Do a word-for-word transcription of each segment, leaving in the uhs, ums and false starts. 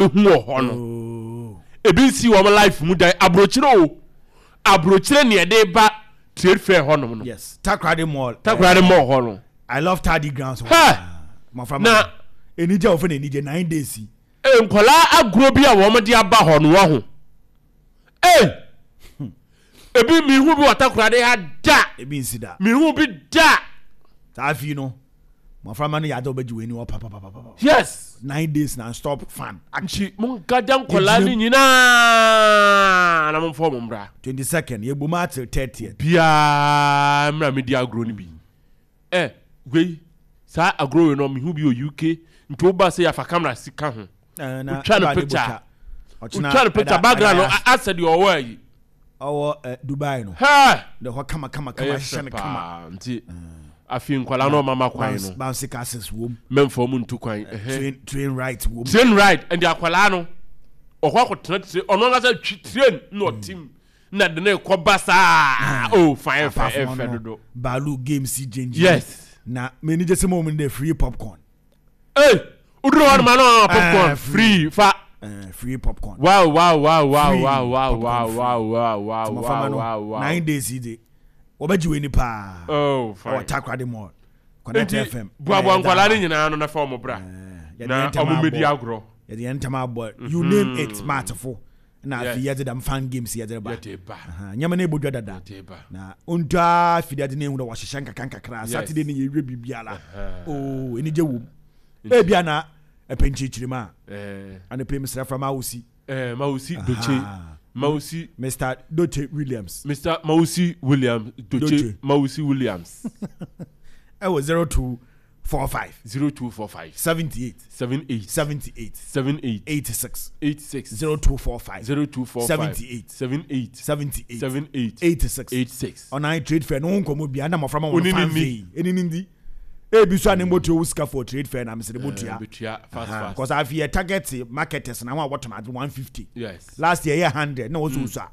Bɛhu wɔ hɔ no, Oh. ebi nsi wɔn life mu dan. Aburokyire o, aburokyire ne yɛde ba trade fair hɔnom no. Yes, Takoradi Mall. Takoradi Mall hɔ no. I Love Tadi grounds. Hɛ! Mmɔfra Na- enigye a wɔfɛ no enigye nine days yi. Ee, nkɔlaa agorɔ bi a wɔn de aba hɔ no wɔ ho ee, ebi mihu bi wɔ Takoradi ha da. Ebi nsi da. Mihu bi da. Saa afi no, mmɔfra ma no yɛ ade a wɔbɛgye wɔn ani wɔ papapapapa. Yes nine days non stop fun action. Nti mo nkagya nkɔlaa no nyinaa na mo nfa wɔn mmra. Twenty second yɛ bom atil thirtieth. Biara mmra mi di agorɔ no bi. Ɛ wei saa agorɔ wei no, mihu bi wɔ U K, nti wo ba sɛ yɛafa camera si ka ho, wotwa no picture, wotwa no picture, background no a- asɛ deɛ ɔwɔ ayi. Ɔwɔ ɛ Dubai no. Hɛ! De hɔ kama kama kama. Ɛyɛ ahyehyɛ fɛ no kama. Paa, nti afei nkwadaa no ɔmama kwan no. Bouncy castles wom. Mɛmfa ɔmo ntu kwan, ɛhɛn. train train ride wom. Train ride, ɛnti akwadaa no ɔkɔ akɔtena train, ɔno ankasa twi train na ɔtim na de ne kɔ ba saa o, fine, ɛfɛ. Apart from Ɛfɛ ɔno, dodo. Baalu games yi gyengyen. Yes na m'ani gye sɛ mo mu de free popcorn. Ee, woduru hɔ nom ano popcorn Eh, free fa. Uh, free popcorn. wow wow wow wow Free wow wow popcorn wow free. wow wow wow Nti wow mmɔframma no wow wow nine days yi de, wɔbɛgye w'ani paa. Oh, ɛwɔ fine. Takoradi Mall, Connect Nti F M. boaboa nkwadaa no nyinaa no na fa ɔmo bra yɛde na yɛn ntɛm ɔmo mmɛdi abɔ. agorɔ. Yɛde yɛn ntɛm abɔ, you name it, smartfo na afei Yes. yɛde dam fun games yɛde ba. Yɛde ba. Aha, nyɛma no ɛbɔdwa dada. Yɛde ba. Na ɔntwaa fidi ade no ehu dɛ wɔhyehyɛ nkakra nkakra. Yes. Saturday no yɛwie biribiara. Aha. Oo, anigye wom. Ebia na ɛpɛ nkyirikyiri mu a ɛɛ anɔpɛ mesrɛ fra Mawusi. ɛɛ Mawusi Doche. Aha. Mawusi. Mister Doche Williams. Mister Mawusi Williams Doche. Doche. Mawusi Williams. Ɛwɔ zero two four five. Zero two four five. seventy-eight. Seven eight. seventy-eight. Seven eight. eighty-six. Eight six. zero two four five. Zero two four five. seventy-eight. Seven eight. seventy-eight. Seven eight. eighty-six. Eight six. Ɔnan trade fair no ho nkɔmmɔ bia na mmɔfra ma Oni wɔn ni fan ni. fei ɛni ni ndi ebi so a ne mbɔtua wo sika for trade fair na mesɛ de bɔtua. Betua fast fast. Because afei yɛ target marketers na wɔn a wɔtɔn ade one fifty. Yes last year yɛ hundred na wɔn so so a,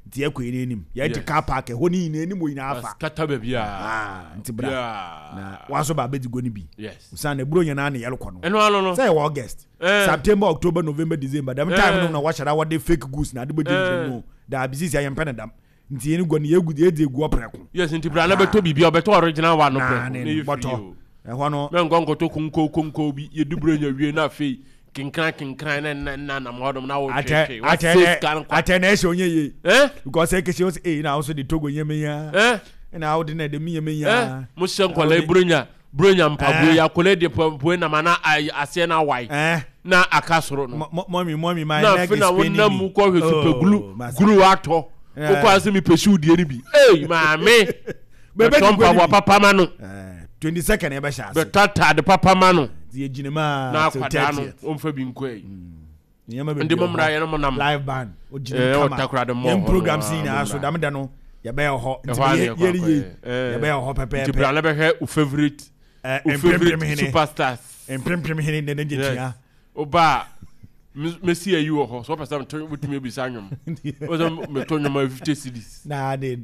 nti yɛ kɔ yɛn anim, yɛ te Yes. car park ɛhɔ ne nyinaa anim wɔ nyinaa afa. Kata baabi a. Ah, nti bra Yeah. na waso ba abɛdi go no bi. Yes san na eburo nyinaa ne yɛrekɔ no. Ɛno ano no. Sɛ yɛwɔ August, Eh. September, October, November, December, dɛm time Eh. no na wɔhyɛ da wɔde fake goods na ade bɛ gyinagyina mu o. Daabi, sisi a yɛmpɛ ne dam, nti yɛn gua no yɛgu yɛdi egu ɔprɛko. Yes, nti bra na bɛtɔ biribi a ɔbɛtɔ original one no Na prɛko ne na yɛ bɔtɔ free o. Ɛhɔ no. Mɛ nkɔ nkɔtɔ konko konko bi, yɛdi buro nya wie na afei kenkran kenkran na na na nam hɔnom na atɛ wɔtwetwe atɛ wɔsɛ nɛ sika no kwa. Atɛ na ɛhyɛ onye yie. Eh because ɛkɛhyɛ wɔsɛ ee na ahosuo de Togo nyɛmɛ ya eh ɛna awo de na ɛde mi nyɛmɛ eh ya. Mo hyɛ nkɔla yi buronya buronya mpaboa yi, akɔla yi de mpaboa nam ana ayi aseɛ na awae ɛɛ na aka soro no. Mɔmi, mɔmi, my Na neck afei is na paining me. wonam mu kɔhwɛ super glue. Oh, masa. Glue atɔ. Eh. Wokɔ ase mepɛ shoe deɛ no bi, ei maame, Bɛbɛ bɛtɔ di gua mpaboa no bi. papa ma no. Ɛɛ twenty second yɛbɛhyɛ ase. Bɛtɔ atade papa ma no. Nti yɛgyina mu a na till akwadaa no thirtieth. ɔmfa bi nkɔ yi. Nneɛma Nti bebree mo wɔ mmra hɔ. yɛn mo nam. Live band ogyina Eh, mu kama. Ɔtakoradi mall Yɛn hɔ no, programs ah, nyinaa mo so mmra. dam da no yɛbɛyɛ hɔ, nti Ɛhɔ a na yɛ yɛkɔ yɛre yie. akɔyɛ. Eh. Yɛbɛyɛ hɔ Nti bra pɛpɛɛpɛ. na bɛhwɛ wo favourite Ɛɛ wo favourite mprempem hene. superstars. Mprempem hene ne ne gye Yes. tua. Woba a mesi ayi wɔ hɔ so, wɔpɛ sɛ meto, wotumi abisa nnwom, wọ́n sɛ meto nnwom a fifty cedis. Na de